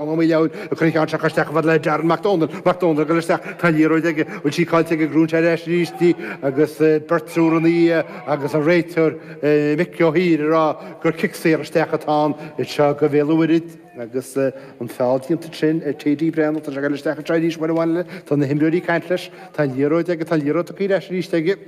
Ó Maoileoin ag cur an cheann seo isteach chomh fada le Darren Mac Dónaill, Mac Dónaill ag dul isteach, tá an liathróid aige, bhfuil sí caillte aige, gnóthaíonn sé ar ais arís í agus beirt triúr ina dhiaidh agus an réiteoir Mick Ó hÍr ag rá gur cic saor isteach atá ann anseo do Bhéal an Mhuirthead agus an feall déanta ansin ar TD Breathnach, tá sé ag dul isteach anseo arís uair amháin eile, tá na himreoirí ag caint leis, tá an liathróid aige, tá an liathróid tugtha ar ais arís aige.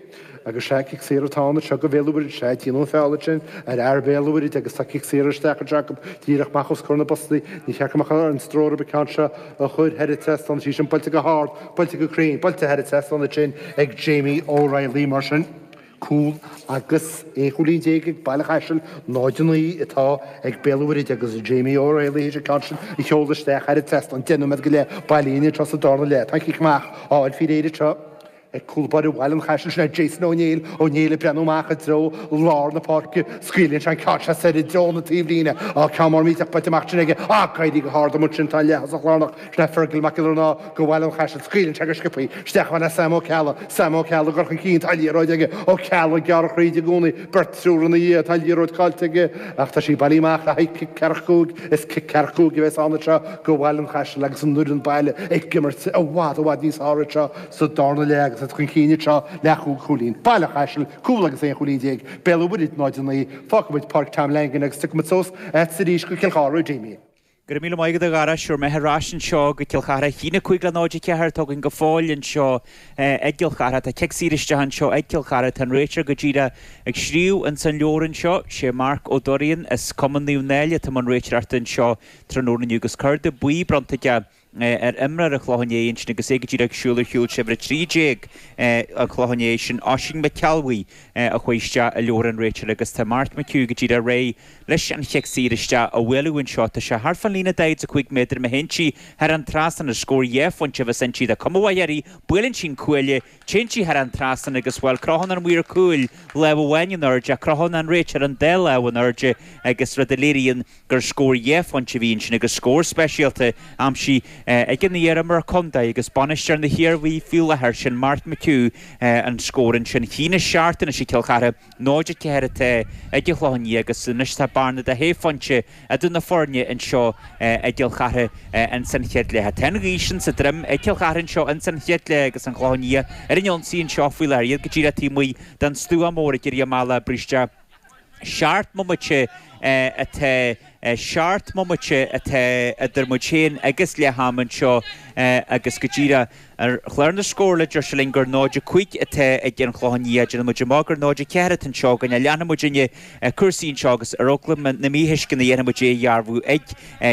Agus sea, cic saor atá ann anseo do Bhéal an Mhuirthead, sea, déanadh an feall ansin ar fhear Bhéal an Mhuirthead agus tá cic saor isteach anseo acu díreach amach os comhair na bpostaí. Ní cheart go mbeadh ar an stró orthu an ceann seo a chur thar an trasnán. Tá sí sin buailte go hard, buailte go cruinn, buailte thar an trasnán ansin ag Jamie O'Reilly. Mar sin, cúl agus 11 chúilín ag Baile Chaisil, 0-9 atá ag Béal an Mhuirthead agus Jamie O'Reilly théis an ceann sin a sheoladh isteach thar an trasnán. 10 nóiméad go leith bailithe anseo sa darna leath. Tá an cic amach á fháil faoi réir anseo. Ag cúl báire Bhaile an Chaisil, sin é Jason Ó Néill, Ó Néill ag breathnú amach i dtreo lár na páirce, scaoileann sé an ceann seo soir i dtreo na taobhlíne. Á, ceann mór millteach buailte amach ansin aige. Á, ag éirí go hard amuigh ansin tá an leath-thosach lárnach, sin é Fergal Mac Giollarnáth do Bhaile an Chaisil, scaoileann sé go sciobthaí isteach chomh fada le Sam Ó Ceallaigh, Sam Ó Ceallaigh ag dul chun cinn, tá an liathróid aige, Ó Ceallaigh ag gearradh thríd i gcónaí, beirt triúr ina dhiaidh, tá an liathróid caillte aige ach tá sí bailithe amach le haghaidh cic ceathracha cúig. Is cic ceathracha cúig a bheas ann anseo do Bhaile an Chaisil agus an fhoireann baile ag imirt i bhfad i bhfad níos fearr anseo sa darna leath agus iad chun cinn anseo le chúig chúilín. Baile an Chaisil, cúl agus 11 chúilín, Béal an Mhuirthead 0-9. Fágfaidh muid Páirc Tom Langan agus tiocfaidh muid suas agatsa arís go Cill Chartha, a Jamie. Go raibh míle maith agat a Dhara, sure mé ar ais anseo go Cill Chartha. 1-5 le 0-4 atá againn go fóill anseo i gCill Chartha. Tá cic saor isteach anseo ag Cill Chartha. Tá an réiteoir go díreach ag scríobh ins an leabhar anseo. Sé Marc Ó Doirean as Cumann Naomh Náille atá i mbun réiteoireachta anseo tráthnóna inniu agus cárta buí bronnta aige ar imreoir an Chlocháin Léith ansin agus é go díreach ag siúl ar shiúl sé uimhir 13 an Chlocháin Léith sin Oisín McElwee a chuaigh isteach i leabhar an réiteora agus tá Mark McHugh go díreach réidh leis an chic saor isteach a bhualadh anseo. Tá sé thart fán líne 45 méadar má théann sí thar an trasnán is scór dhá phointe a bheas inti. Tá cuma mhaith uirthi, buaileann sí an cuaille, téann sí thar an trasnán agus, bhuel, crochann an maor cúil lámh amháin in airde ach crochann an réiteoir an dá lámh in airde agus rud a léiríonn gur scór dhá phointe a bhí ansin agus scór speisialta aimsithe ag an iar-imreoir contae agus bainisteoir na hIarmhí faoi láthair, sin Mark McHugh, an scór ansin. 1-7 anois ag Cill Chartha, 0-4 atá ag an Chlochán Liath agus anois tá bearna de shé phointe idir na foirne anseo i gCill Chartha ins an chéad leath. Tá an ghaoth sin sa droim ag Cill Chartha anseo ins an chéad leath agus an Clochán Liath ar an ionsaí anseo faoi láthair. Iad go díreach taobh amuigh den stua mór ag éirí amach le bristeadh. Seacht mbomaite atá seacht mbomaite atá idir muid féin agus leath ama anseo agus go díreach ar chlár na scórála deir sé linn gur 0-5 atá ag an Chlochán Liath. Déanann muid amach gur 0-4 atá anseo againn. Leanfaidh muidinne cúrsaí anseo agus ar eagla na míthuisceana déanfaidh muid é a dhearbhú ag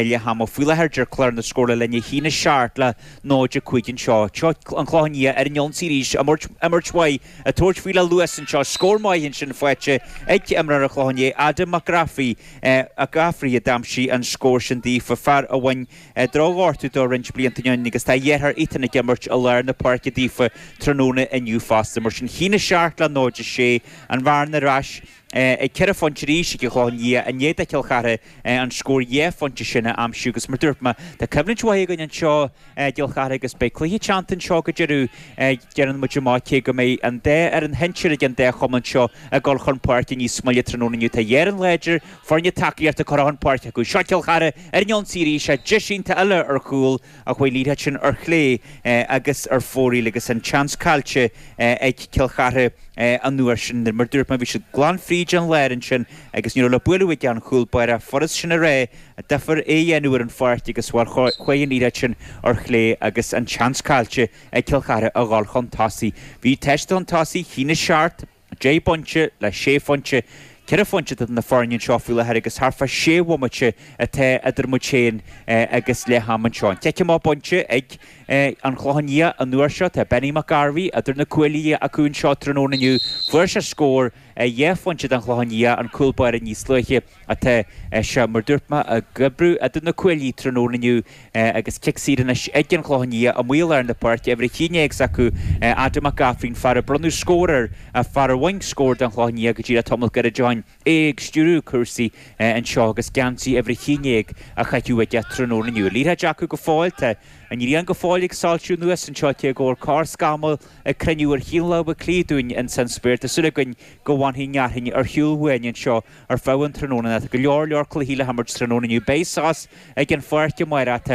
leath ama. Faoi láthair deir clár na scórála linn 1-7 le 0-5 anseo. Seo an Clochán Liath ar an ionsaí arís, imirt mhaith Ag tabhairt faoi le luas anseo. Scór maith ansin faighte ag imreoir an Chlocháin Léith, Adam McGraffey, McGaffrey a d'aimsigh an scór sin daofa, fear a bhain drochghortú dó roinnt blianta ó shin agus tá a dheartháir Ethan ag imirt i lár na páirce daofa tráthnóna inniu fosta. Mar sin, 1-7 le 0-6, an bhearna ar ais ag ceithre phointe arís ag an Chlochán Liath i ndiaidh do Chill Chartha an scór dhá phointe sin a aimsiú agus mar dúirt mé, tá coimhlint mhaith againn anseo i gCill Chartha agus beidh cluiche teannta anseo go deireadh, déanann muid amach cé go mbeidh an dá fhoireann shinsir ag an dá chumann seo ag dul chun páirce níos moille tráthnóna inniu. Tá dhá fhoireann láidir, foirne tacaíochta curtha chun páirce acu. Seo Cill Chartha ar an ionsaí arís, deis iontach eile ar chúl ach chuaigh an liathróid sin ar chlé agus ar fóraoil agus an seans caillte ag Cill Chartha an uair sin. Mar dúirt mé, bhí siad glan fríd an lár ansin agus ní raibh le bualadh ag an chúl báire. Furast sin a rá, deacair é a dhéanamh ar an pháirc agus, bhuel, chuaigh an liathróid sin ar chlé agus an seans caillte ag Cill Chartha a dhul chun tosaigh. Bhí teist chun tosaigh, 1-7. 10 bpointe le sé phointe, ceithre phointe idir na foirne anseo faoi láthair agus thart fá sé bhomaite atá idir muid féin agus leath ama anseo. An cic amach bainte ag an Chlochán Liath an uair seo. Tá Benny McGarvey idir na cuaillí acu anseo tráthnóna inniu. Fuair sé scór dhá phointe don Chlochán Liath, an cúl báire níos luaithe. Tá sé, mar dúirt mé, ag oibriú idir na cuaillí tráthnóna inniu agus cic saor anois ag an Chlochán Liath amuigh i lár na páirce, uimhir 11 s'acu, Adam McGaffrey, an fear a bronnadh scór air, fear a bhain scór don Chlochán Liath go díreach tamall gairid ó shin, é ag stiúradh cúrsaí anseo agus geansaí uimhir 11 á chaitheamh aige tráthnóna inniu. Liathróid acu go fóill, tá. An ghrian go fóill ag soilsiú anuas anseo cé go bhfuil corrscamall ag cruinniú ar chaon lámh cliath dúinn ins an spéir. Tá súil againn go bhfanfaidh an fhearthainn ar shiúl uainn anseo ar feadh an tráthnóna. Tá go leor leor cluichí le himirt tráthnóna inniu. Beidh sos ag an pháirc amárach. Tá.